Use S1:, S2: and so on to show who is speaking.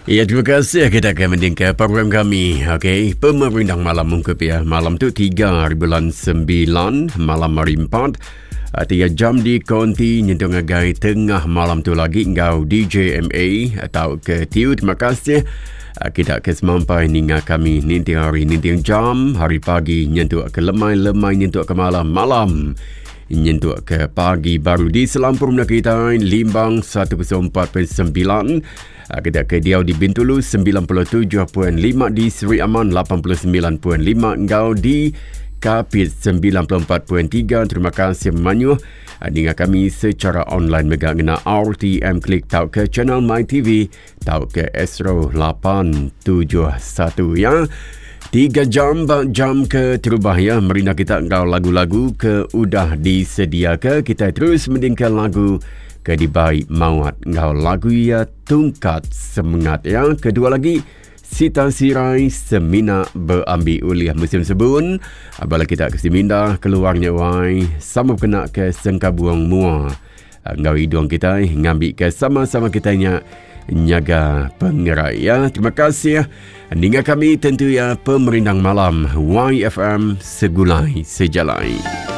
S1: Ya, terima kasih kita ke mendingka program kami. Okey, pemerindang malam mungkup ya. Malam tu 3 hari bulan 9, malam hari 4. 3 ah, jam di konti nyentuh ngagai tengah malam tu lagi enggau DJ MA atau ke Tiu. Terima kasih ah, kita ke semampai ninga kami ninting hari ninting jam hari pagi nyentuk ke lemai-lemai nyentuk ke malam-malam nyentuk ke pagi baru di selampur menua kita Limbang 104.9 ah, kita ke diau di Bintulu 97.5 di Seri Aman 89.5 enggau di Kapit 94.3 terima kasih manyuh ah, ninga kami secara online mega ngena RTM Klik tau ke channel My TV tau ke Astro 871 ya. 3 jam ba jam ke terubah ya merina kita enggau lagu-lagu ke udah disediaka kita terus mendingka lagu ke dibai mawat enggau lagu ya tungkat semengat ya. Kedua lagi Sita Sirai semina beambi ulih musim sebun bala kita ke Siminda keluarnya wai sama kena ke sengkabuang mua enggau idung kitai ngambika sama-sama kitai nya nyaga pengerai ya. Terima kasih ninga kami tentu ya pemerindang malam YFM Segulai Sejalai.